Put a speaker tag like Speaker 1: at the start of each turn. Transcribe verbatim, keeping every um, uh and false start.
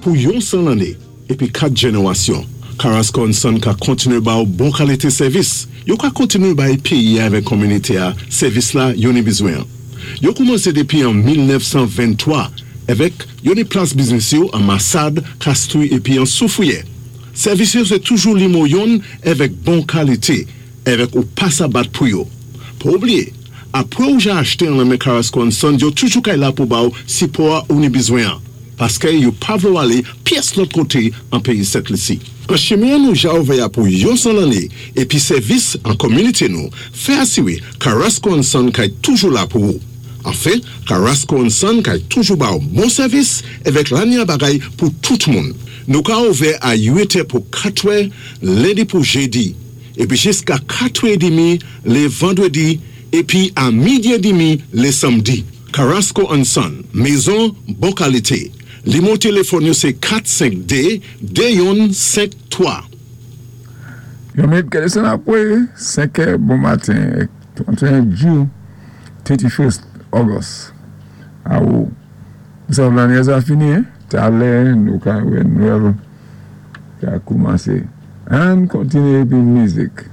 Speaker 1: Pou yon san lanné épi kat jénéwasyon, Carrasco and Son ka kontiné ba ou bon kalité sèvis. Yo ka kontiné bay péyi avèk kominité-a sèvis la yo ni bizwen. Yo koumansé dépi an mil nèf san venntwa avèk yo ni plas biznis yo an Massade, Castries épi an Soufrière. Sèvis yo sé toujou nimewo youn avèk bon kalité, avèk ou pa sa bat pou yo. Pa oubliyé, apwé ou ja achté an nan men Carrasco and Son, yo toujou kay la pou ba ou sipò ou ni bizwen. Paské yo pa vlé ou alé pyès lòt koté an péyi Sent Lisi. An chimen nou ja ouvè pou yon san lanné épi sèvis an kominité nou, fè asiwé Carrasco and Son kay toujou la pou ou. Anfen, Carrasco and Son kay toujou ba ou bon sèvis avèk lanya bagay pou tout moun. Nou ka ouvè a uit è pou katwè, lendi pou jédi, épi jiska katwè édmi lé vandwédi, épi a midi édmi lé sanmdi. Carrasco and Son, mézon bon kalité. Nimewo téléfòn yo sé kat senk dé de youn senk twa.
Speaker 2: Yon minit kè désann apwé senk è bon maten, tranteyen jou, thirty-first August. Awo, sa lanné sa fini, hein? Talè, nou ka wè Nwèl ka koumansé. Ann kontiné épi mizik.